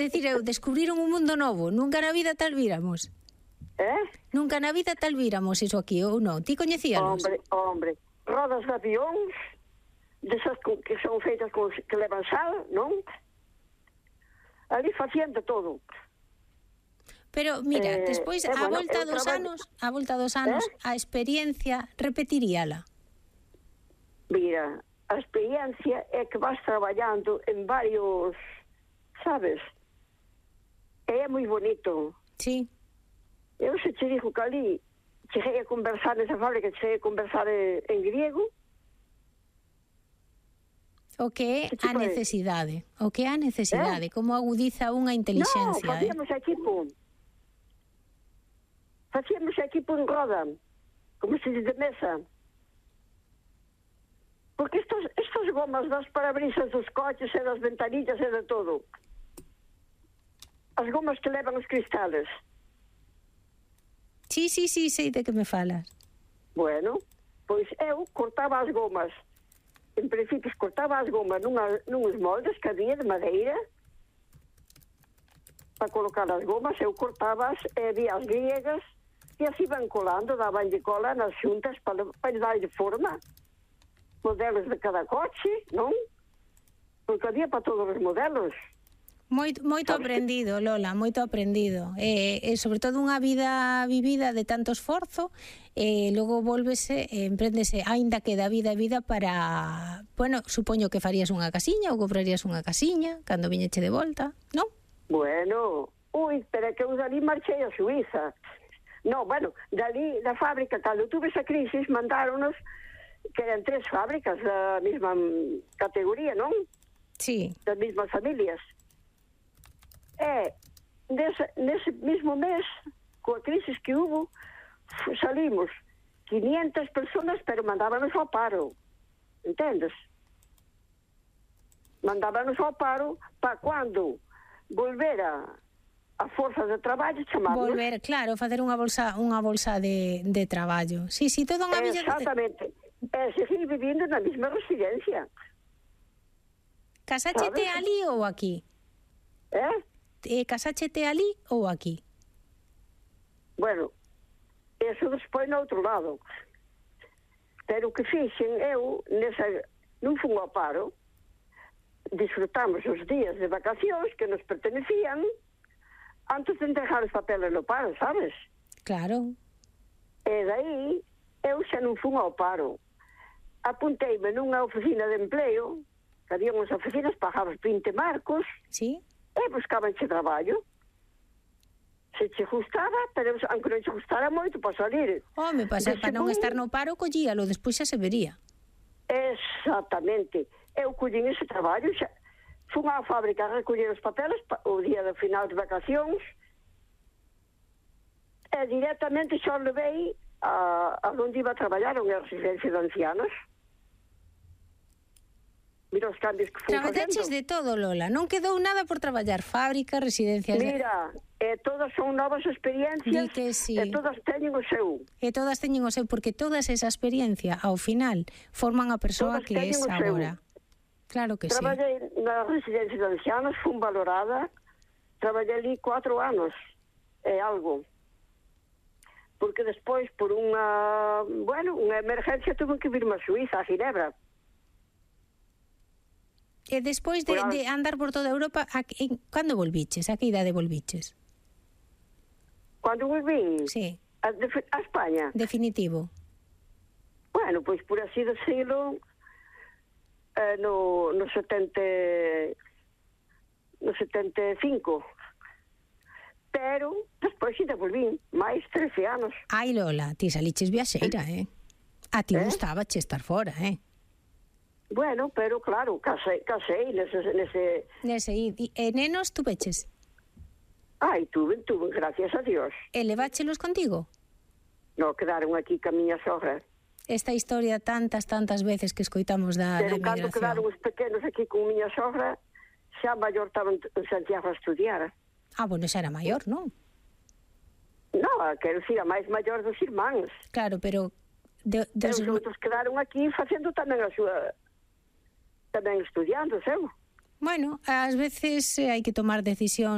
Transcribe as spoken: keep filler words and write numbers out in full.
decir, eu descubriron un mundo novo. Nunca na vida tal víramos. Eh? Nunca na vida tal víramos iso aquí, ou non? Ti coñecíanos? Hombre, hombre. Rodas de avións, desas que son feitas con, que levan sal, non? Ali facían de todo. Pero, mira, eh, despois, eh, a bueno, volta dos traballo... anos, a volta dos anos, eh? a experiencia, repetiríala. Mira, a experiencia é que vas traballando en varios, sabes? É moi bonito. Sí. Eu se te digo que ali cheguei a conversar nesa fábrica, cheguei a conversar en, en griego. O que é a necesidade. O que é a necesidade. Eh? Como agudiza unha inteligencia. No, facíamos eh? equipo. Facíamos equipo en roda. Como se diz de mesa. Porque estos, estos gomas das parabrisas dos coches e das ventanillas e de todo. As gomas que levan os cristales. Sí, sí, sí, sei de que me falas. Bueno, pois eu cortaba as gomas. En principio cortaba as gomas nunha, nuns moldes que había de madeira para colocar as gomas. Eu cortaba as, e había as griegas e así iban colando, daban de cola nas xuntas para, para dar de forma. Modelos de cada coche, non? Porque había para todos os modelos. Moito, moito aprendido, Lola, moito aprendido. E, e sobre todo unha vida vivida de tanto esforzo, e logo volvese, e emprendese, aínda que da vida e vida para... Bueno, supoño que farías unha casiña ou comprarías unha casiña cando viñeche de volta, non? Bueno, ui, pero que eu dali marchei a Suiza. No, bueno, dali, da fábrica, cando tuve esa crisis, mandáronos, que eran tres fábricas da mesma categoría, non? Sí. Das mesmas familias. E nese, nese mesmo mes, coa crisis que hubo, salimos quinientas personas, pero mandábanos ao paro. Entendes? Mandábanos ao paro para cando volvera a forza de traballo, chamarnos. Volver, claro, facer unha bolsa unha bolsa de, de traballo. Sí, sí, toda unha villa... Exactamente. E seguir vivindo na mesma residencia. Casáchete ali ou aquí? Eh? Eh, casáchete ali ou aquí? Bueno, eso despois no outro lado. Pero o que fixen eu, nesa, non fun ao paro, disfrutamos os días de vacacións que nos pertenecían antes de entregar os papeles no paro, sabes? Claro. E daí, eu xa non fun ao paro. Apunteime nunha oficina de empleo, que había unhas oficinas, pagabas vinte marcos, sí, e buscabanche traballo. Se che gustaba, pero aunque non che gustara moito para salir. Home, para, para non estar no paro, collíalo, despois xa se vería. Exactamente. Eu collín ese traballo, xa fun á fábrica a recoller os papeles o día do final de vacacións e directamente xa levei a, a onde iba a traballar, unha residencia de ancianos. Mira os cambios que fui facendo. Traballaches de todo, Lola, non quedou nada por traballar, fábrica, residencias... Mira, e todas son novas experiencias, sí. E todas teñen o seu. E todas teñen o seu, porque todas esa experiencia, ao final, forman a persoa todas que é agora. Claro que Traballei sí. Traballei na residencia de ancianos, fun valorada, traballei ali cuatro anos, é algo. Porque despois, por unha, bueno, unha emergencia, tuve que virme a Suiza, a Ginebra. E despois de, de andar por toda Europa, a, en, cando volviches? A que idade volviches? Cando volví? Sí. A, de, a España? Definitivo. Bueno, pois por así decirlo, eh, no, no setenta no setenta e cinco. Pero despois ainda volví, máis trece anos. Ai, Lola, ti saliches viaxeira, eh? A ti eh? gustabache estar fora, eh? Bueno, pero claro, casei, casei nese... Nese, nese e, e nenos tu veches? Ai, tuve, tuve, gracias a Dios. E leváchelos contigo? No, quedaron aquí ca miña sogra. Esta historia tantas, tantas veces que escoitamos da, pero da emigración. Pero cando quedaron os pequenos aquí con miña sogra, xa maior estaban en Santiago a estudiar. Ah, bueno, xa era maior, non? Non, quero dicir, a máis maior dos irmáns. Claro, pero... De, de os outros quedaron aquí facendo tamén a súa... tamén estudiando, seu. Bueno, ás veces hai que tomar decisión